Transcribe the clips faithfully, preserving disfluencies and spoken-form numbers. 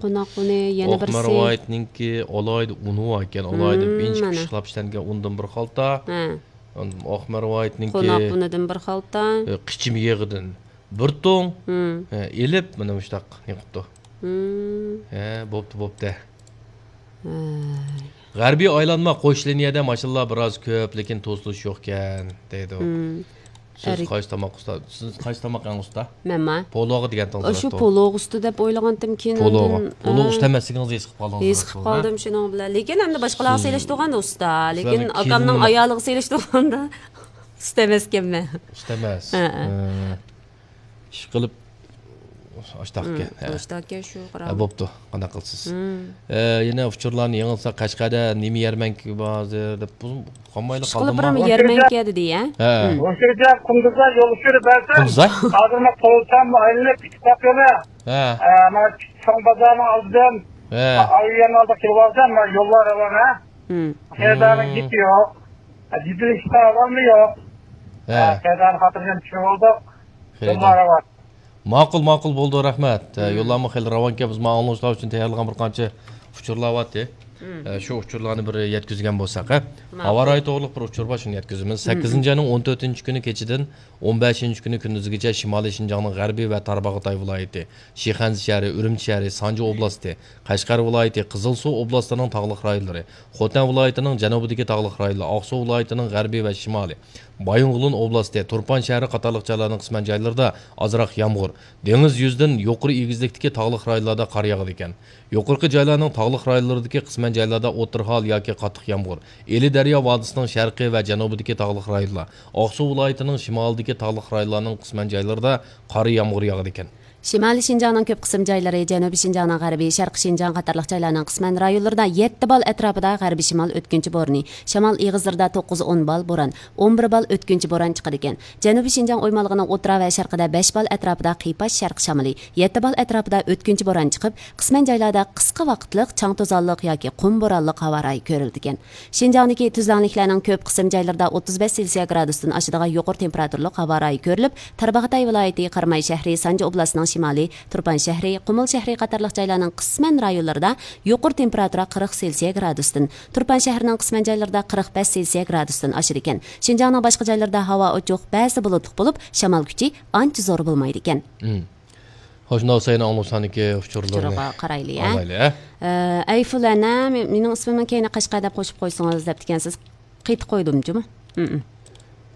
قوناق ئۇنى يەنە بىرسى. ئاقمەرۋايىتنىڭكى ئالاھىدە ئۇنى بار ئىكەن، ئالاھىدە مم، ئىنچىكە مانا. پىششىقلاپ ئىشلەنگەن ئۇندىن بىر خالتا. ھە. ئاندىن ئاقمەرۋايىتنىڭكى قوناق ئۇنىدىن بىر خالتا. ئە، قىچىم يېغىدىن بىر تۇڭ، مم. ئە، ئېلىپ، مانا مۇشتاق نېقىپتۇ. مم. ھە، بوپتۇ، بوپتۇ. ھە. غەربىي ئايلانما قوش لىنىيەدە ماشىنىلار بىراز كۆپ، لېكىن توسۇلۇش يوقكەن، دەيدۇ. مم. سىز ئەرك- قايسى تاماق ئۇستا؟ سىز قايسى تاماق ئەڭ ئۇستا؟ مەنما؟ پولۇغا دېگەن تاماق شۇ ئۇستا. پولۇغ ئۇستا دەپ ئويلىغانتىم، كېيىن پولۇغا. ئاندىن، پولۇغ ئا، ئۇستا ئەمەسلىكىڭىزنى ھېس قىلىپ قالدىڭىز ھېس قىلىپ دەپتۇ، ھە؟ قالدىم شۇنىڭ بىلەن. لېكىن ئەمدى باشقىلارغا سىز، سېلىشتۇرغاندا ئۇستا. لېكىن سىلەرنىڭ ئاكامنىڭ كىيىمىڭ ئايالىغا سېلىشتۇرغاندا ئۇستا ئەمەسكەنمەن. ئۇستا ئەمەس. ھە، ھە. ھە. ئىشقىلىپ، ئاشتاق ئىكەن. ھە. ئاشتاق ئىكەن شۇ، ھە، قاراڭ. بوپتۇ، قانداق قىلىسىز؟ ھە، يەنە ئۇچۇرلارنى يېڭىلسا، قەشقەردە نېمە يەرمەنكە بار ھازىر دەپ، قالمايلا ئىشقىلىپ قالدىمۇ؟ بىر يەرمەنكە دېدى، ھە؟ ھە. مم. مۇشۇ جاي قۇمدۇزدا يول ئۇچۇرى بەرسەم، قۇمدۇزدا؟ ھازىر مەن قوۋلىسام ئايلىنىپ ئىككى تاپ يولى. ھە. ھە، مانا چوڭ بازارنىڭ ئالدىدىن، ھە. ئايلىنىپ ئالدىغا كېلىۋالسام، مانا يوللار راۋان، ھە. مم. خېرىدارنىڭ گېپى يوق. جىددىيلىشىشتە ئاۋازمۇ يوق. ھە. خېرىدارنىڭ خاتىرجەم چۈشۈرۈۋالدۇق. خېرىدار. يوللار راۋان. ماقۇل، ماقۇل، بولدى، رەھمەت. ھە، مم. يوللارمۇ خېلى راۋانكەن، بىز مانا ئاڭلىغۇچىلار ئۈچۈن تەييارلىغان بىر قانچە ئۇچۇرلار بارتى. مم. ھە، شۇ ئۇچۇرلارنى بىر يەتكۈزگەن بولساق، ھە؟ ماقۇل. ھاۋا رايى توغرۇلۇق بىر ئۇچۇر بار، شۇنى يەتكۈزىمىز. مم. سەككىزىنچى ئاينىڭ ئون تۆتىنچى كۈنى كېچىدىن ئون بەشىنچى كۈنى كۈندۈزىگىچە شىمالىي شىنجاڭنىڭ غەربىي ۋە تارباغاتاي ۋىلايىتى، شىخەنزە شەھىرى، ئۈرۈمچى شەھىرى، سانجى ئوبلاستى، قەشقەر ۋىلايىتى، قىزىلسۇ ئوبلاستىنىڭ تاغلىق رايونلىرى، خوتەن ۋىلايىتىنىڭ جەنۇبىدىكى تاغلىق رايونلار، ئاقسۇ ۋىلايىتىنىڭ غەربىي ۋە شىمالىي، بايىنغولىن ئوبلاستى، تۇرپان شەھىرى قاتارلىق جايلارنىڭ قىسمەن جايلىرىدا ئازراق يامغۇر، دېڭىز يۈزىدىن يۇقىرى ئېگىزلىكتىكى تاغلىق رايونلاردا قار ياغىدىكەن. يۇقىرىقى جايلارنىڭ تاغلىق رايونلىرىدىكى قىسمەن جايلاردا ئوتتۇرا ھال ياكى قاتتىق يامغۇر، ئىلى دەريا ۋادىسىنىڭ شەرقىي ۋە جەنۇبىدىكى تاغلىق رايونلار، ئاقسۇ ۋىلايىتىنىڭ شىمالىدىكى تاغلىق رايونلارنىڭ قىسمەن جايلىرىدا قار يامغۇر ياغىدىكەن. شىمالىي شىنجاڭنىڭ كۆپ قىسىم جايلىرى، جەنۇبىي شىنجاڭنىڭ غەربى، شەرقىي شىنجاڭ قاتارلىق جايلارنىڭ قىسمەن رايونلىرىدا يەتتە بال ئەتراپىدا غەربىي شىمال ئۆتكۈنچى بورىنى، شامال ئېغىزلىرىدا توققۇز ئون بال بوران، ئون بىر بال ئۆتكۈنچى بوران چىقىدىكەن. جەنۇبىي شىنجاڭ ئويمانلىقىنىڭ ئوتتۇرا ۋە شەرقىدە بەش بال ئەتراپىدا قىيپاش شەرقىي شامىلى، يەتتە بال ئەتراپىدا ئۆتكۈنچى بوران چىقىپ، قىسمەن جايلاردا قىسقا ۋاقىتلىق چاڭ توزانلىق ياكى قۇم بورانلىق ھاۋا رايى كۆرۈلىدىكەن. شىنجاڭدىكى تۈزلەڭلىكلەرنىڭ كۆپ قىسىم جايلىرىدا ئوتتۇز بەش سېلسىيە گرادۇستىن ئاشىدىغان يۇقىرى تېمپېراتۇرىلىق ھاۋا رايى كۆرۈلۈپ، تارباغاتاي ۋىلايىتى، قاراماي شەھىرى، سانجى ئوبلاستىنىڭ شىمالى، تۇرپان شەھىرى، قۇمۇل شەھىرى قاتارلىق جايلارنىڭ قىسمەن رايونلىرىدا يۇقىرى تېمپېراتۇرا قىرىق سېلسىيە گرادۇستىن، تۇرپان شەھىرىنىڭ قىسمەن جايلىرىدا قىرىق بەش سېلسىيە گرادۇستىن ئاشىدىكەن. شىنجاڭنىڭ باشقا جايلىرىدا ھاۋا ئوچۇق، بەزىدە بۇلۇتلۇق بولۇپ، شامال كۈچى ئانچە زور بولمايدىكەن. مم. خوش، ناۋساينى ئاڭلىساندىكى ئۇچۇرلىرىنى ئۇچۇرىغا قارايلى، ھە؟ ئاڭلايلى، ھە؟ ئە، ئەيفۇلەنە، مېنىڭ ئىسمىمنى كەينىگە قەشقەر دەپ قوشۇپ قويسىڭىز دەپتىكەنسىز. قېتىپ قويدۇم جۇمۇ. ھم.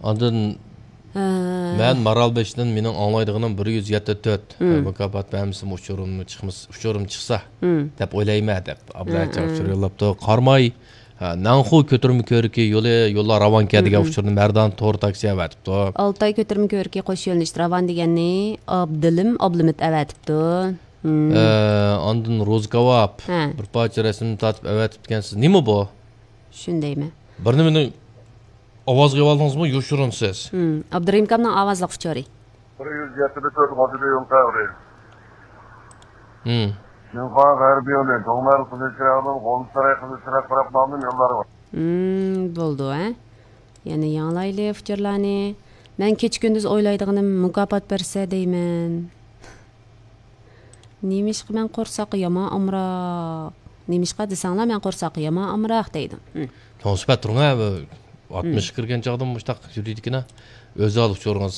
ئاندىن ھە. مەن مارالبېشىدىن، مېنىڭ ئاڭلايدىغىنىم بىر يۈز يەتتە تۆت. ھم. مۇكاپات بەرمىسىمۇ ئۇچۇرۇمنى چىقمىس-، ئۇچۇرۇم چىقسا ھم. دەپ ئويلايمەن دەپ ئابدۇللا ھە، ئۇچۇر ھە. يوللاپتۇ. قاراماي، ھە، ناڭخۇ كۆتۈرمە كۆۋرۈكى يولى، يوللار راۋانكەن دېگەن ھم. ئۇچۇرنى مەردان تور تاكسى ئەۋەتىپتۇ. ئالتاي كۆتۈرمە كۆۋرۈكى قوش يۆنىلىشتە راۋان دېگەننى ئابدىلىم ئابلىمىت ئەۋەتىپتۇ. ھم. ئە، ئاندىن روزى كاۋاپ ھە. بىر پارچە رەسىمنى تارتىپ ئەۋەتىپتىكەنسىز. نېمە بۇ؟ شۇنى دەيمەن. بىر نېمىنى ئاۋازغا ئېۋالدىڭىزمۇ؟ يوشۇرۇنسىز. ھم، ئابدۇرېھىم ئاكامنىڭ ئاۋازلىق ئۇچۇرى. بىر يۈز يەتتە تۆت غازىدا يول تەۋرى. ھم. شىنخۇا غەربىي يولى، دۇڭمەل قىزىلچىراغدىن غۇلجا ساراي قىزىلچىراغ تەرەپ نامىنىڭ يوللىرى بار. ھم، بولدى، ھە. يەنە ياڭلايلى ئۇچۇرلارنى. مەن كېچە كۈندۈز ئويلايدىغىنىم مۇكاپات بەرسە دەيمەن. نېمىشقا مەن قورساققا يامان ئامراق؟ نېمىشقا دېسەڭلار، مەن قورساققا يامان ئامراق دەيدۇ. ھم. چوڭ سۈپەت تۇرۇڭ ھە، بۇ ئاتمىشقا ھم. كىرگەن چاغدىمۇ مۇشتاق يۈرىدىكىنە. ئۆز ھال ئۇچۇرىڭىز.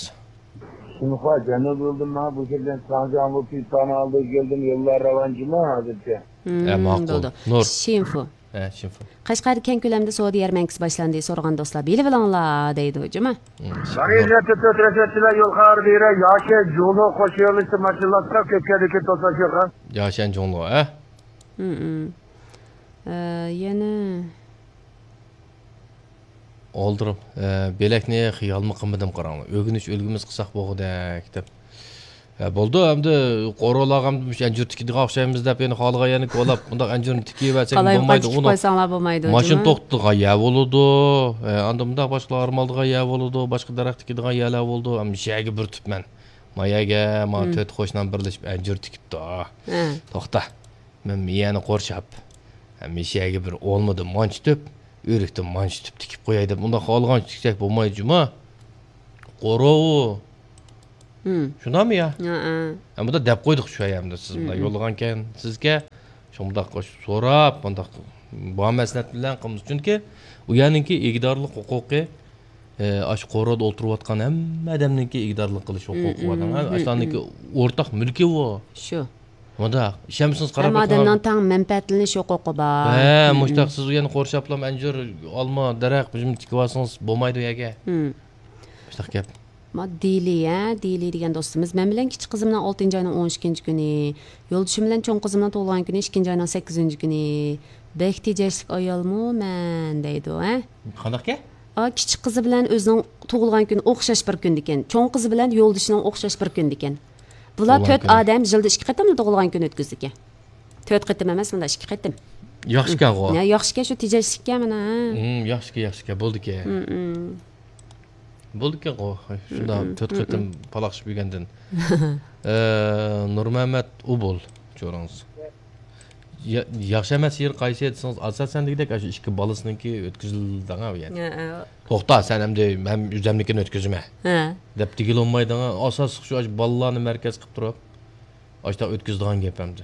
شىنخۇا جەنۇب يولىدىن ماڭا بۇ كىرگەن ساڭجاڭ بۇ پىتانى ئالدىغا كەلدىم، يوللار راۋان جۇمۇ ھازىرچە. ھم، ھە، ماقۇل. بولدى. نۇر. شىنفۇ. ھە، شىنفۇ. قەشقەردە كەڭكۆلەمدە سودا يەرمەنكىسى باشلاندى، سورىغان دوستلار بىلىۋېلىڭلار دەيدۇ جۇمۇ. ھم، نۇر. بىر يۈز يەتتە تۆت رەسىدىلەر يول خەۋىرى بېرە، ياشەن جۇڭلۇ قوش يۆنىلىشتە ماشىنىلار سەل كۆپكەندىكىن توسۇلۇش يوق ھە. ياشەن جۇڭلۇ، ھە؟ ھم، ھم. ئە، يەنە ئولتۇرۇپ، ئە، بۆلەكنى خىيالمۇ قىلمىدىم، قاراڭلار. ئۆگىنىش ئۈلگىمىز قىلساق بولغۇدەك دەپ. ئە، بولدى، ئەمدى قورۇلارغا ئەمدى مۇشۇ ئەنجۈر تىكىدىغان ئوخشايمىز دەپ، يەنە خالىغان يەرنى كولاپ، مۇنداق ئەنجۈرنى تىكىۋەرسەك بولمايدۇ، قالايمىقان تىكىپ قويساڭلار بولمايدۇ، ماشىنا جۇمۇ. توختىتىدىغان يەر بولىدۇ. ئە، ئاندىن مۇنداق باشقىلار ئارام ئالىدىغان يەر بولىدۇ، باشقا دەرەخ تىكىدىغان يەرلەر بولىدۇ. ئەمدى مۇشۇ يەرگە بىر تۈپ مەن. ما يەرگە، ما ھم. تۆت قوشنام بىرلىشىپ ئەنجۈر تىكىپتۇ. ھە. توختا. مەن مىيەنى قورشاپ، ھەمىشە يەرگە بىر ئولمىدىن مانچە تۈپ، ئۆرۈكتىن مانچە تۈپ تىكىپ قوياي دەپ، ئۇنداق خالىغانچە تىكسەك بولمايدۇ جۇما. قورۇ. ھىم. شۇنداقمۇ يا؟ ھەئە. ھە، بۇندا دەپ قويدۇق شۇ ئايامدا، سىز ھىم، بۇنداق ھىم. يوللىغانكەن سىزگە. شۇنداق سوراپ، مۇنداق بامەسلىھەت بىلەن قىلمىسا. چۈنكى ئۇ يەرنىڭكى ئىگىدارلىق ھوقۇقى، ئاشۇ قورۇدا ئولتۇرۇۋاتقان ھەممە ئادەمنىڭكى ئىگىدارلىق قىلىش ھوقۇقى بار. ئاشۇلارنىڭكى ئورتاق مۈلكى ئۇ. شۇ. مۇنداق، ئىشەنمىسىڭىز قاراپ ھەممە ئادەمنىڭ تەڭ مەنپەئەتلىنىش ھوقۇقى بار. ھە، مۇشتاق سىز ئۇ يەرنى قورشاپلا، ئەنجۈر، ئالما، دەرەخ، بۇ يەرنى تىكىۋالسىڭىز بولمايدۇ ئۇ يەرگە. مۇشتاق گەپ. ما دىلى، ھە، دىلى دېگەن دوستىمىز، مەن بىلەن كىچىك قىزىمنىڭ ئالتىنچى ئاينىڭ ئون ئىككىنچى كۈنى، يولدىشىم بىلەن چوڭ قىزىمنىڭ تۇغۇلغان كۈنى ئىككىنچى ئاينىڭ سەككىزىنچى كۈنى. بەك تېجەشلىك ئايالمۇ مەن دەيدۇ، ھە؟ قانداقكەن؟ ئا، كىچىك قىزى بىلەن ئۆزىنىڭ تۇغۇلغان كۈنى ئوخشاش بىر كۈندىكەن. چوڭ قىزى بىلەن يولدىشىنىڭ ئوخشاش بىر كۈندىكەن. بۇلار تۆت ئادەم يىلدا ئىككى قېتىملا تۇغۇلغان كۈنى ئۆتكۈزىدىكەن. تۆت قېتىم ئەمەس، مۇنداق ئىككى قېتىم. ياخشىكەنغۇ. يا، ياخشىكەن، شۇ تېجەشلىككەن مانا. ھىم، ياخشىكەن، ياخشىكەن، بولدىكەن. ھىم، ھىم. بولدىكەنغۇ، شۇنداق تۆت قېتىم پالاقشىپ يۈرگەندىن. ئە، نۇرمەمەت ئۇبۇل، جورىڭىز. يا-، ياخشى ئەمەس يېرى قايسى دېسىڭىز، ئاساسەن دېگۈدەك، ئاشۇ ئىككى بالىسىنىڭكى ئۆتكۈزۈلدىڭە ئۇ يەردە. ھە، ھە. توختا، سەن ئەمدى مەن ئۆزەمنىكىنى ئۆتكۈزىمەن، ھە، دەپ دېگىلى بولمايدىغان ئاساسلىق شۇ، ئاشۇ بالىلارنى مەركەز قىلىپ تۇرۇپ، ئاشۇنداق ئۆتكۈزىدىغان گەپ ئەمدى.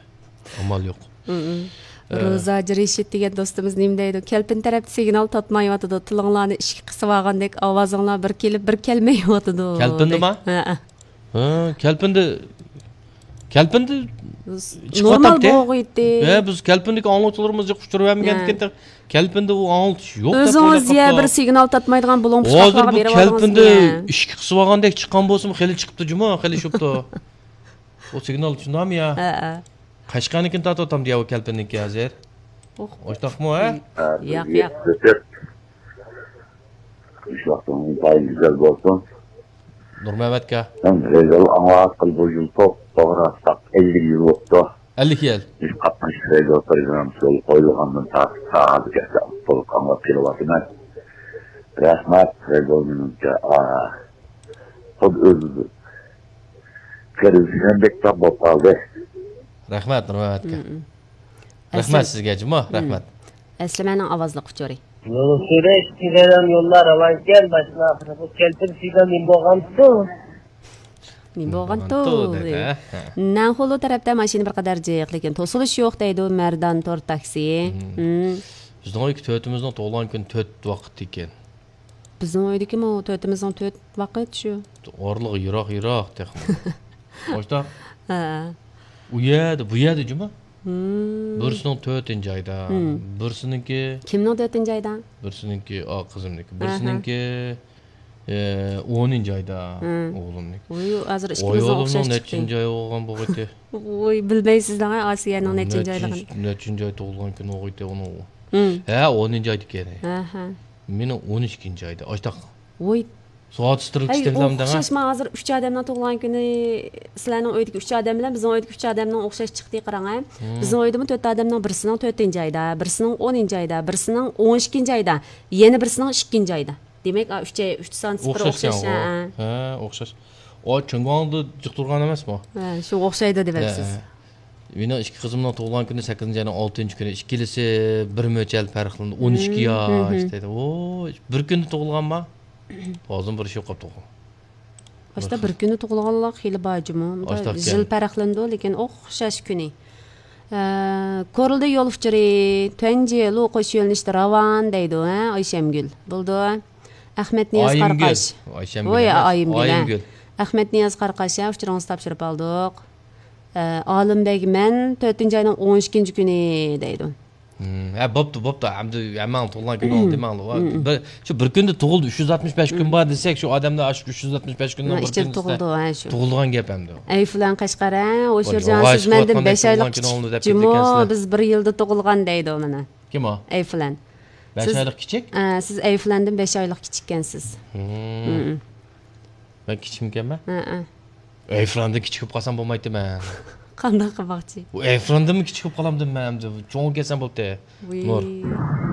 ئامال يوق. ئە، روزا ھاجى رېشىت دېگەن دوستىمىز نېمە دەيدۇ؟ كەلپىن تەرەپتە سىگنال تارتمايۋاتىدۇ. تىلىڭلارنى ئىشىككە قىسىۋالغاندەك ئاۋازىڭلار بىر كېلىپ، بىر كەلمەيۋاتىدۇ. كەلپىندىما؟ ھە، ھە. ھە، كەلپىندى، كەلپىندى نورمال چىقىۋاتامتى؟ بولغىيتتى. ھە، بىز كەلپىندىكى ئاڭلىغۇچىلىرىمىز يوق، ئۇچۇرىۋەرمىگەندىكىن، ھە، كەلپىندى ئۇ ئاڭلىتىش يوق دەپ ئۆزىڭىز ئويلاپ يە قاپتۇ. بىر سىگنال تارتمايدىغان بۇلۇڭ پۇچقاقلارغا بېرىۋالدىڭىز. ھازىر بۇ كەلپىندى ئىشىككە قىسىۋالغاندەك چىققان بولسىمۇ خېلى چىقىپتۇ جۇمۇ، خېلى شۇپتۇ. ئۇ سىگنال شۇنداقمۇ يا؟ ھە، ھە. قەشقەرنىڭكىنى تارتىۋاتامدۇ يا ئۇ كەلپىننىڭكى ھازىر؟ ئوخ. ئوشتاقمۇ، ھە؟ ياق، ياق. ئىش ۋاقتىڭىز ئىنتايىن گۈزەل بولسۇن. نۇرمەمەتكە. مەن رېزول ئاڭلاتقىلى بۇ يىل توغرا تاق ئەللىك يىل بوپتۇ. ئەللىك يىل. بىز قاتناشقان رېزول پروگراممىسى يولغا قويۇلغاندىن تارتىپ تا ھازىرغىچە تولۇق ئاڭلاپ كېلىۋاتىمەن. رەھمەت، رېزول مېنىڭچە، ئا، خۇددى ئۆزى قېرىندىشىمدەك تاپ بولۇپ قالدى. رەھمەت، نۇرمەمەتكە. مم. رەھمەت سىزگە جۇمۇ، مم، رەھمەت. ئەسلىمەنىڭ ئاۋازلىق ئۇچۇرى. يولسۈرۈش كېلەلەم يوللار راۋانكەن، باشنا ئاخىرى بۇ كەلپىن سىگنال نېمە بولغانتۇ؟ نېمە بولغانتۇ؟ نېمە بولغانتۇ دەيدۇ. دەيدۇ، ھە، ھە. نەنخۇلۇ تەرەپتە ماشىنا بىر قەدەر جىق، لېكىن توسۇلۇش يوق دەيدۇ مەردان تور تاكسى. مم. مم. بىزنىڭ ئۆيدىكى تۆتىمىزنىڭ تۇغۇلغان كۈنى تۆت ۋاقىت ئىكەن. بىزنىڭ ئۆيدىكىمۇ تۆتىمىزنىڭ تۆت ۋاقىت شۇ. ئارىلىقى يىراق، يىراق تېخىمۇ. ئاشتا. ھە. ئۇ يەردە، بۇ يەردە جۇمۇ. مم. بىرسىنىڭ تۆتىنچى ئايدا، مم، بىرسىنىڭكى. كىمنىڭ تۆتىنچى ئايدا؟ بىرسىنىڭكى، ئا، قىزىمنىڭكى. ئاھا. بىرسىنىڭكى، ئە، ئونىنچى ئايدا، مم، ئوغلۇمنىڭكى. ۋوي، ھازىر ئىككىمىزنىڭ ئوغلۇمنىڭ ئوخشاش چىقتى. نەچچىنچى ئاي بولغان بولغىيتى؟ ۋوي، بىلمەيسىز دەڭە، ئاسىيەنىڭ نەچچىنچى ئايلىقىنى. نەچچىنچى ئاي تۇغۇلغان كۈنى بولغىيتى ئۇنىڭ. مم. ھە، ئونىنچى ئايدىكى. ئاھا. مېنىڭ ئون ئىككىنچى ئايدا. ئاشتاق. ۋوي. سوئال تۇتۇشتۇرۇپ ھەي، كېتەمدىڭ، ھە؟ ئوخشاش، مانا ھازىر ئۈچ ئادەمنىڭ تۇغۇلغان كۈنى، سىلەرنىڭ ئۆيدىكى ئۈچ ئادەم بىلەن بىزنىڭ ئۆيدىكى ئۈچ ئادەمنىڭ ئوخشاش چىقتى، قاراڭ، ھە؟ مم. بىزنىڭ ئۆيدىمۇ تۆت ئادەمنىڭ بىرسىنىڭ تۆتىنچى ئايدا، بىرسىنىڭ ئونىنچى ئايدا، بىرسىنىڭ ئون ئىككىنچى ئايدا، يەنە بىرسىنىڭ ئىككىنچى ئايدا. دېمەك، ئا، ئۈچ ئاي، ئۈچ سانىسى بىر ئوخشاش، ئوخشاشكەنغۇ. ھە. ھە، ئوخشاش. ئۇ چىڭگۇاڭدا جىق تۇرغان ئەمەسمۇ؟ ھە، شۇ ئوخشايدۇ دېمەپسىز. ھە، ھە. مېنىڭ ئىككى قىزىمنىڭ تۇغۇلغان كۈنى سەككىزىنچى ئاينىڭ ئالتىنچى كۈنى، ئىككىلىسى بىر مۆچەر پەرقلىنىدۇ، ئون ئىككى ياش دەيدۇ. ۋوي، بىر كۈندە تۇغۇلغانما؟ ھازىر بىر ئىش يوق قاپتۇ. باشتا بىر كۈندە تۇغۇلغانلار خېلى بار جۇمۇ. يىل پەرقلىنىدۇ، لېكىن ئوخشاش كۈنى. ئە، كورلىدا يول ئۇچۇرى، تۇەنجى لۇ قوش يۆنىلىشتە راۋان دەيدۇ، ھە، ئايشەمگۈل. بولدى. ئەخمەتنىياز قاراقاش. ئايىمگۈل. ئايشەمگۈل ۋوي، ئەمەس، ئايىمگۈل، ھە. ئايىمگۈل. ئەخمەتنىياز قاراقاش، ھە، ئۇچۇرىڭىزنى تاپشۇرۇپ ئالدۇق. ئە، ئالىمبەگ، مەن تۆتىنچى ئاينىڭ ئون ئىككىنچى كۈنى دەيدۇ. ھىم، ھە، بوپتۇ، بوپتۇ. ئەمدى ھەممىڭ تۇغۇلغان كۈنى دېمەڭلار. بىر، شۇ بىر كۈندە تۇغۇلدى، ئۈچ يۈز ئاتمىش بەش كۈن بار دېسەك، شۇ ئادەملەر شۇ ئۈچ يۈز ئاتمىش بەش كۈننىڭ بىر كۈنى تۇغۇلدى، ھە، شۇ. تۇغۇلغان گەپ ئەمدى. ئەي فىلان قەشقەر، ھە، ھوشۇرجان، سىز مەندىن بەش ئايلىق كىچىك جۇمۇ، بىز بىر يىلدا تۇغۇلغان دەيدۇ مانا. كىم ئۇ؟ ئەي فىلان. بەش ئايلىق كىچىك؟ ئە، سىز ئەي فىلاندىن بەش ئايلىق كىچىككەنسىز. ھىم. مەن كىچىكمىكەنمەن؟ ھەئە. ئەي فىلاندىن كىچىك بولۇپ قالسام بولمايتتىمەن. قانداق قىلماقچى؟ ئۇ ئەي فىلاندىنمۇ كىچىك بولۇپ قالامدىم مەن ئەمدى. چوڭ كەلسەم بوپتى. ۋىي. نۇر.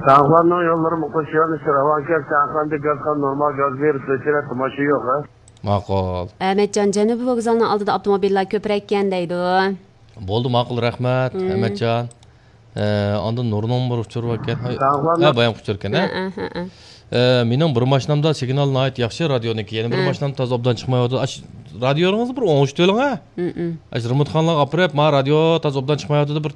تاغلارنىڭ يوللىرى مۇقىش يۆنىلىشى راۋانكەن، سەنخەندە گازخان نورمال گاز بېرىپ، بېچىرە تىماشا يوق، ھە؟ ماقۇل. ئەمەتجان، جەنۇبىي ۋوگزالنىڭ ئالدىدا ئاپتوموبىللار كۆپرەككەن دەيدۇ. بولدى، ماقۇل، رەھمەت، ئەمەتجان. ئە، ئاندىن نۇرنىڭ بىر ئۇچۇرى باركەن. ھە، بايام ئۇچۇركەن، ھە؟ ھە، ھە، ھە. ئە، مېنىڭ بىر ماشىنامدا سىگنال ناھايىتى ياخشى، رادىيونىڭكى. يەنە بىر ماشىنام تازا ئوبدان چىقمايۋاتىدۇ. ئاش، رادىيونىڭىزنى بىر ئوڭشىتىۋېلىڭ، ھە؟ ئاش رېمونتخانىلارغا ئاپىرىپ، ما رادىيو تازا ئوبدان چىقمايۋاتىدۇ، بىر